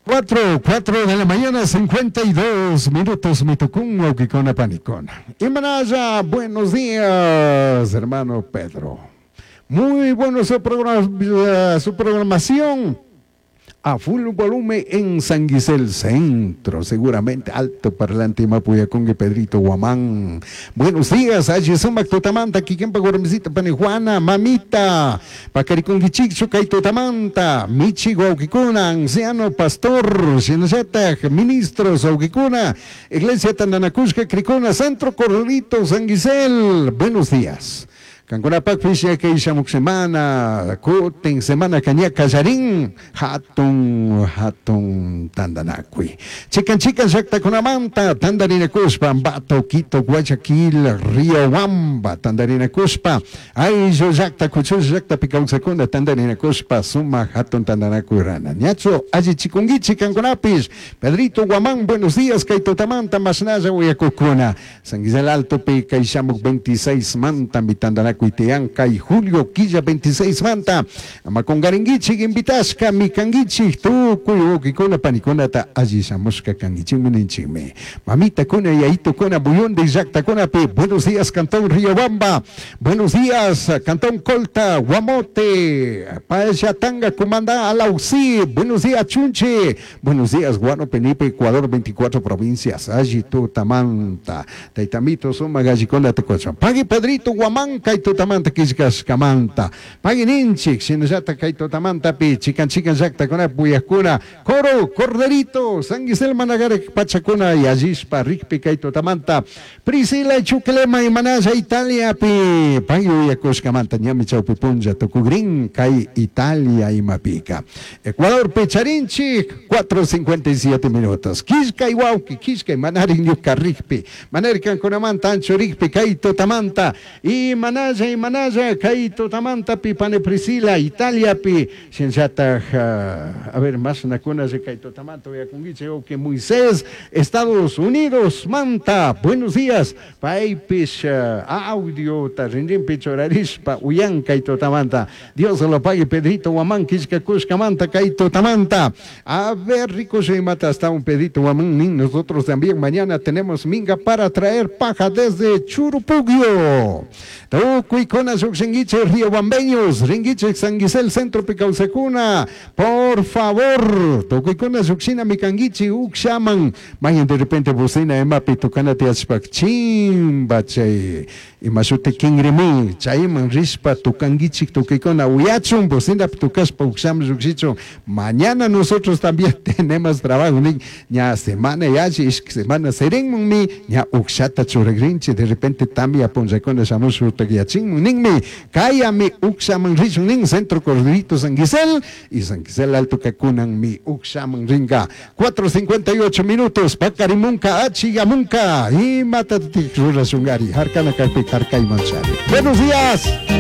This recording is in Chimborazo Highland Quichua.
4 de la mañana, 52 minutos, mitucún, wawkikuna, panikuna. Imanalla, buenos días, hermano Pedro. Muy bueno su programación a full volumen en San Gisel Centro, seguramente alto parlante Mapuyacungue Pedrito Guamán. Buenos días, allí sumak tutamanta, kikinpa warmisita pani Juana, mamita, pakaricunguichikchu kay tutamanta, michi wawkikuna, anciano pastor, shinallatak, ministros wawkikuna, Iglesia Tandanakushka Cricuna, Centro Corralito, San Gisel. Buenos días. Kankunapakpish kay shamuk semana, kutin semana kaña kallarin, hatun, hatun tandanakuy. Chikan chikan llaktakunamanta tandarinakushpa, Ambato, Quito, Guayaquil, Riobamba tandarinakushpa, ayllu llakta, kuchush llaktapi kawsakuna tandarinakushpa, sumak hatun tandanakuy rana. Ñachu allichikunkichik kankunapish. Pedrito Guamán, buenos días, kay tutamanta mashnalla uyakukuna. San Gisel Altopi kay shamuk 26 manta mi tandanakuy tiyan kay julio killa 26 manta. Ama kungarinkichik invitashka mi kankichik tukuy wawkikuna panikunata alli shamushka kankichikmi ninchikmi. Mamitakuna, yayitukuna, muyundi llaktakunapi, buenos días, Cantón Riobamba, buenos días, Cantón Colta, Guamote, Payatanga, Cumandá, Alausí, buenos días, Chunche, buenos días, Guano, Penipe, Ecuador, 24 provincias, alli tutamanta, taytamito, suma gallikuna tukuchun. Pagui Pedrito Guamán, kay tutamanta killkashkamanta, pagui ninchik, shinallata kay tutamantapi, chikan chikan llaktakuna, puyakuna, Coro, Corderito, San Gisel Managarek pachakuna, yallishpa, rikpi kay tutamanta, Priscila Chuclema, Imanalla, Italia, pi, pagui uyakushkamanta, ñami chawpi punlla tukugrin, kay Italia imapika. Ecuador, Pecharinchik, 4:57 minutos. Killkay wawki, killkay manarin ñuka rikpi, manari kankunamanta ancho rikpi, kay tutamanta, imanalla, imanalla, kay tutamanta pi pane Priscila, Italia pi, shinllataj, a ver, más nakuna kay tutamanta uyakunkichik, wawki Moisés, Estados Unidos, manta, buenos días, paypish, audio ta rinrinpi churarishpa uyan kay tutamanta. Dios lo pague, Pedrito Guamán, killkakushkamanta kay tutamanta. A ver, rico mata hasta un Pedrito Guamán, nin, nosotros también mañana tenemos minga para traer paja desde Churupugio. Tukuykuna llukshinkichik riobambeños, rinkichik San Gisel Centro Picausacuna, por favor, tukuykuna llukshina mikankichik ukshaman, mañana de repente bocina emapi tukana tiyashpak chimba chay, imashuti kingrimi, chayman rishpa tukankichik tukuykuna uyachun, bocina tukashpa ukshaman llukshichun. Mañana nosotros también tenemos trabajo, nin, ña semana yachi, ishki semana serinmunmi, ña ukshata churagrinchi, de repente tamia punllakuna shamush utakyachinmun, ninmi, kayami ukshaman rishun, nin, Centro Corderito San Gisel, y San Gisel Alto kakunan mi ukshaman ringa. 4:58 minutos, pakarimunka, achigamunka, imatatik rurashungari, harkana kaypi harkay manchari. Buenos días.